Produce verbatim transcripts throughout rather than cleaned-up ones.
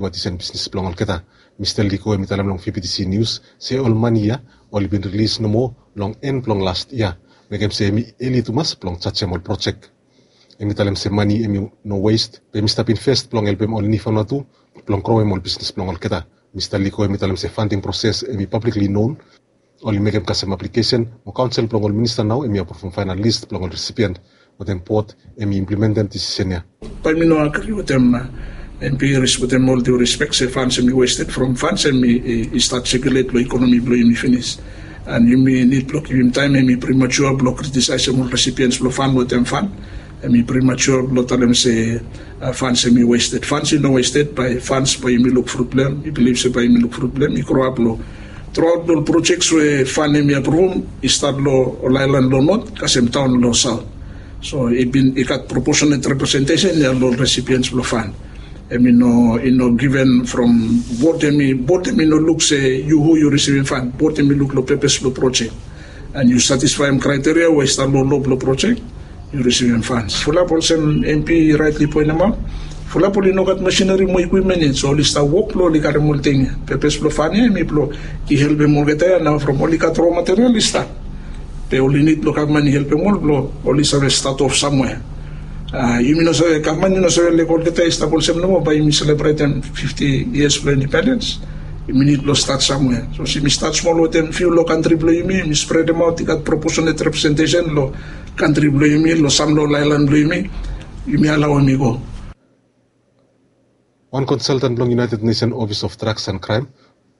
Watisan bisnis blong olgeta. Mista Liko hemi talem long V B T C News se ol mani ya oli bin rilis nomo long en blong last yia, mekem se hemi eli tumas blong jajem ol projek. Hemi talem se mani hemi no west, be hemi stap invest blong helpem ol niu Vanuatu blong growem ol bisnis blong olgeta. Mista Liko hemi talem se funding proses hemi publicly known, oli mekem kasem aplikesen mo kaonsel blong ol minista nao hemi aprovem faenal list blong ol resipient wetem bod hemi implementem disisen ya. Bae mi no agri wetem MP Harris, wetem ol due respect, se funds hemi wasted from funds hemi i stat sekulet long ekonomi blong yumi finis. And yumi nid blong givim taem, hemi premature blong kritisaesem ol recipients blong fund wetem fund. Hemi premature blong talem se funds hemi wasted. Funds i no wasted, bae funds bae yumi luk frut blong hem. Mi bilif se bae yumi luk frut blong hem. I grow up long throughout ol projects we fund hemi aprovem i stat long ol aelan long not kasem taon long saot. So i bin i gat proportionate representation ya long ol recipients blong fund. Hemi no i no given from bod hemi, bod hemi no luk se yu hu yu risivim fund. Bod hemi luk long pepes blong projek. And yu satisfaem kraiteria we i stap long lo blong projek, yu risivim fans. Fulap olsem MP i raetli poenemaot, fulap oli no gat masineri mo ekwipmen yet, so oli stap wok blong oli karem ol ting ya. Pepes blong fan ya hemi blong i helpem olgeta ya nao from oli gat ro material i stap. Be oli nid blong gavman i helpem ol blong oli save stat of samwea. Yumi no save, gavman i no save lego olgeta i stap olsem nomo bae yumi selebretem fifti yias blong indipendens. Yumi nid blong stat samwea. Sapos yumi stat smol wetem fiu long kantri blong yumi, yumi spredemaot, i gat proportionate representation long kantri blong yumi, long sam long ol aelan blong yumi, yumi alaoem i go. Wan konsaltan blong United Nation Office of Drugs and Crime,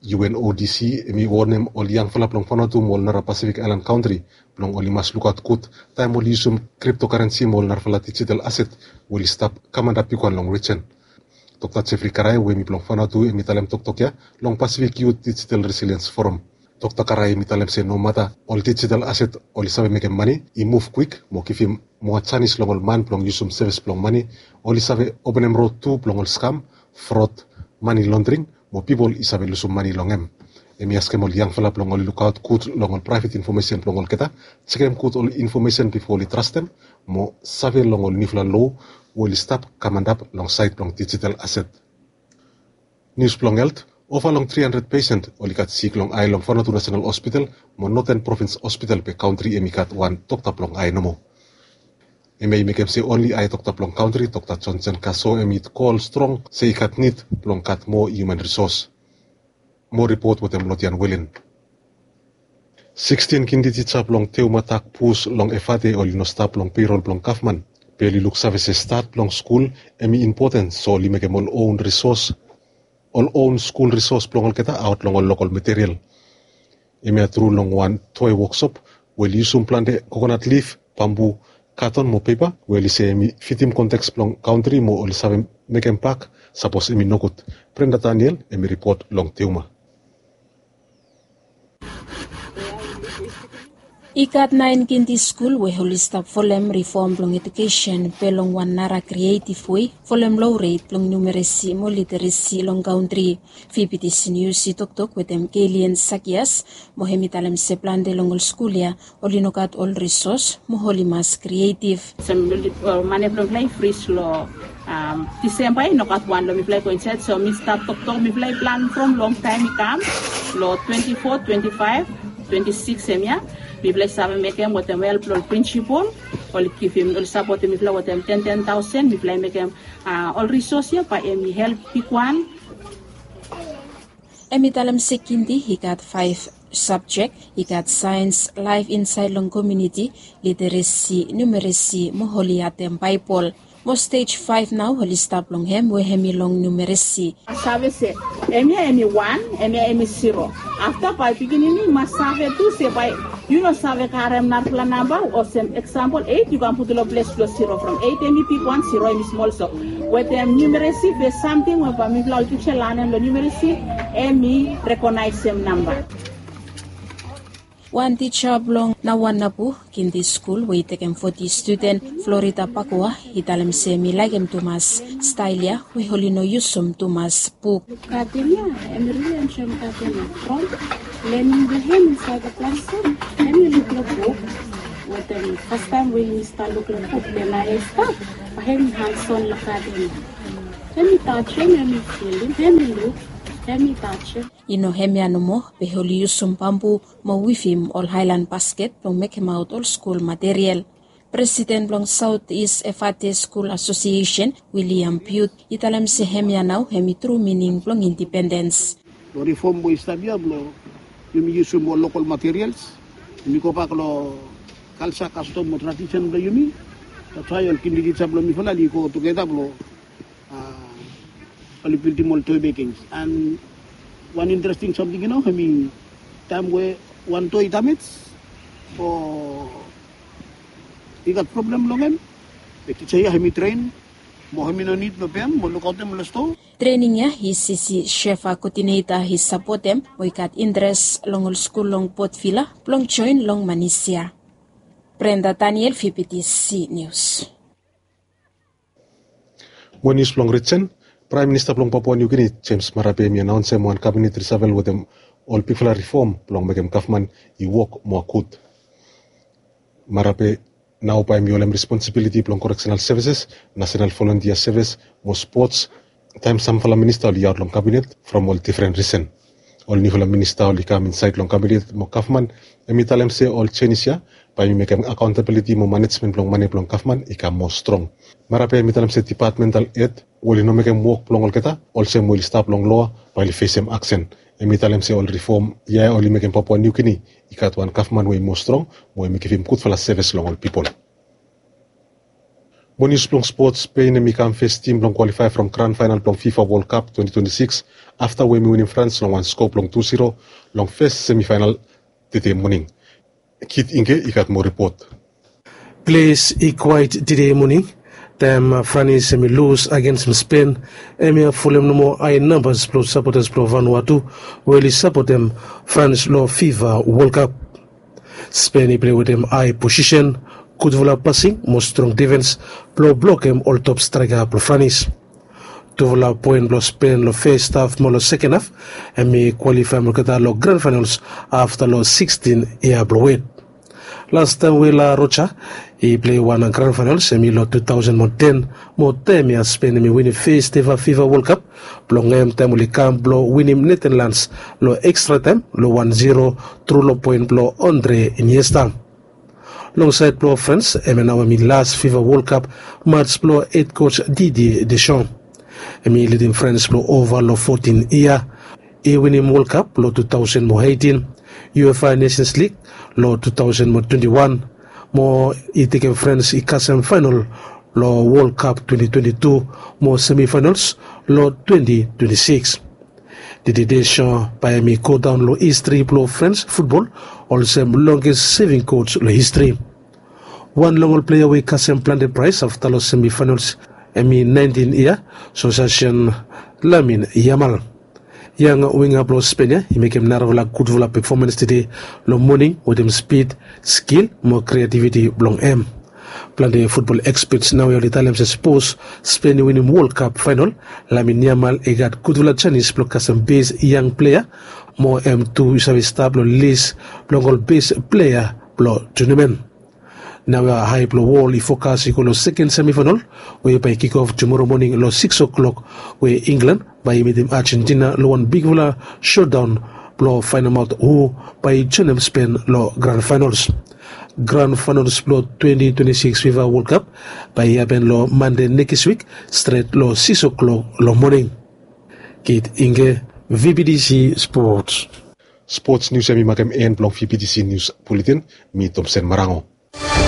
U N O D C, hemi wonem ol yangfala blong Vanuatu mo ol nara Pasifik aelan kantri blong oli mas lukaot gud taem oli yusum kriptokarensi mo ol narafala dijital aset we oli stap kam antap bigwan long rijen. Dokta Jeffrey Karai we hemi blong Vanuatu hemi talem toktok ya long Pasifik Youth Digital Resilience Forum. Dokta Karai hemi talem se nomata ol dijital aset oli save mekem mane i muv kwik mo givim moa janis long ol man blong yusum sevis blong mane, oli save openem rod tu blong ol skam, frod, mane londring mo pipol i save lusum mane long hem. Hemi askem ol yangfala blong oli lukaot gud long ol praevet infomesen blong olgeta, jekem gud ol infomesen bifo oli trastem mo save long ol niufala loa we oli stap kam antap long saed blong dijital aset. Nius blong helt, ova long tri handred pesen oli gat sik long ae long Vanuatu Nasenal Hospital mo Noten Provins Hospital be kantri hemi gat wan dokta blong ae nomo. Hemia i mekem se onli ae dokta blong kantri, Dokta Johnson Kaso, hemi kol strong se i gat nid blong gat moa hiuman risos. Moa ripot wetem Lotian Welen. Sikstin kindi tija blong Teuma Dak Bus long Efate oli no stap long peirol blong gavman. Be oli luksave se stat blong skul hemi impoten, so oli mekem ol own risos, ol own skul risos blong olgeta aot long ol lokol material. Hemia tru long wan toe woksop we oli yusum plante kokonat lif, bambu, katon mo pepa we oli se hemi fitim konteks blong kantri mo oli save mekem bak sapos hemi nogud. Brenda Daniel hemi ripot long Teuma. I gat naen kindi skul we oli stap folem rifom blong ejukesen be long wan nara krietiv wei, folem loret blong numeresi mo literesi long kantri. V B T C Nius i toktok wetem Kelian Sakias mo hemi talem se plante long ol skul ya oli no gat ol risos mo oli mas krietiv. Olsem mane blong mifala i fris long Disemba, i no gat wan long mifala i go insaed. So mi stap toktok, mifala i plan from longtaem i kam long twenti fo, twenti faef, twenti sikis hemia. Mifala i save mekem wetem help blong ol prinsipol, oli givim, oli sapotem mifala wetem ten ten taosen. Mifala i mekem ol risos ya bae hemi help bigwan. Hemi talem se kindi i gat faef sabjek, i gat saens, laef insaed long komuniti, literesi, numeresi mo oli atem Baebol. Mo stej faef nao oli stap long hem we hemi long numeresi. Save se hemia hemi wan, hemia hemi ziro. Afta bae pikinini i mas save tu se bae yu no save karem narafala namba, olsem eksampol eit yu kam putum long ples blong ziro, from eit hemi bigwan, ziro hemi smol. So wetem numeresi be samting we bae mifala ol tija i lanem long numeresi, hemi rekonaesem namba. Wan tija blong Nawanabu Kindi Skul we i tekem foti studen, Florida Pakua, i talem se hemi laekem tumas stael ya we oli no yusum tumas buk. Gaden ya, hemi rili enjoem gaden ya. From lenim blong hem insaed long planson, hemi luk long buk. Wetem fastaem we hemi stap luk long buk, be naoia i stap, bae hemi hanson long gaden ya. Hemi tachem, hemi filim, hemi luk, hemi tachem. I no hemia nomo, be oli yusum bambu mo wivim ol haelan basket blong mekemaot ol skul material. Presiden blong South East Efate School Association, William Bute, i talem se hemia nao hemi tru mining blong indipendens. Long rifom we i stap ya blong yumi yusum ol lokal materials, yumi gobak long kalsa, kastom mo tradisen blong yumi. That's why ol kiniki tisa blong mifala oli go tugeta blong oli bildim ol toi bekings. And wan interesting samting, yu no, hemi taem we wan toi i damej o i gat problem long hem, be tisa ya hemi tren mo hemi no nid blong pem mo lukaotem long stoa. Trening ya i sisi Shefa koodineta i sapotem mo i gat interes long ol skul long Port Vila blong joen long Manis ya. Brenda Daniel, V B T C News. Mo nius blong rijen, Praem Minista blong Papua Niu Gini, James Marape, hemi anaonsem wan kabinet risavel wetem ol bigfala rifom blong mekem gavman i wok moa gud. Marape nao bae hemi holem responsibiliti blong koreksenal sevises, nasenal volontia sevis mo spots, taem samfala minista oli aot long kabinet from ol difren risen. Ol niufala minista oli kam insaed long kabinet mo gavman, hemi talem se ol jenis ya bae hemi mekem akaontabiliti mo manejmen blong mane blong gavman i kam moa strong. Marape hemi talem se dipatmental hed we oli no mekem wok blong olgeta olsem we oli stap long loa bae oli fesem aksen. Hemi talem se ol rifom ya oli mekem Papua Niu Gini i gat wan gavman we i moa strong mo hemi givim gudfala sevis long ol pipol. Mo nius blong spots, Spen hemi kam fes tim blong kwalifae from gran faenal blong FIFA World Cup twenty twenty-six afta we hemi winim Frans long wan skoa blong tu zero long fes semifaenal tede moning. Kit Inge i gat moa ripot. Ples i kwaet tede moning taem Franis hemi lus agensem Spen. Hemia folem nomo hae nambas blong sapotas blong Vanuatu we oli sapotem Frans long FIFA World Cup. Spen i plei wetem hae posisen, gudfala pasing mo strong difens blong blokem ol top straeka blong Franis. Tufala poen blong Spen long fes haf mo long seken haf hemi kwalifaem olgeta long gran faenols afta long sikstin yia blong wet. Lastaem we La Roja i plei wan gran faenols hemi long tu taosen mo ten, mo taem ya Spen hemi winim fes eva FIFA World Cup blong hem taem oli kam blong winim Netenlans long ekstra taem long wan zero tru long poen blong Andre Iniesta. Long saed blong Frans, hemia nao hemi las FIFA World Cup mats blong hed kos Didier Deschamps. Hemi lidim Frans blong ova long fotin yia. I winim World Cup long tu taosen mo eitin, UEFA Nations League long tu taosen mo twenti wan, mo i tekem Frans i kasem faenal long World Cup twenty twenty-two mo semifaenols long twenty twenty-six. Didier Deschamps bae hemi godaon long histri blong Frans futbol olsem longest seving kos long histri. Wan long ol plea we i kasem plante praes afta long semifaenols hemi naentin yia, Sosasien Lamin Yamal. Yang winga blong Spen ya i mekem narafala gudfala pefomans tede long moning wetem spid, skil mo kreativiti blong hem. Plante futbol ekspets naoia oli talem se sapos Spen i winim World Cup faenal, Lamin Yamal i gat gudfala janis blong kasem bes yang plea, mo hem tu i save stap long lis blong ol bes plea blong tunamen. Naoia ae blong wol i fokas i go long seken semifaenal we bae i kikof tumora moning long sikis oklok, we Inglan bae i mitim Ajentina long wan bigfala shotdaon blong faenemaot hu bae i joenem Spen long gran faenols. Gran faenols blong twenty twenty-six FIFA World Cup bae i hapen long Mande nekis wik, stret long sikis oklok long moning. Kit Inge, V B T C Sports. Spots nius ya hemi makem en blong V B T C Nius Buletin. Mi Tomsen Marango.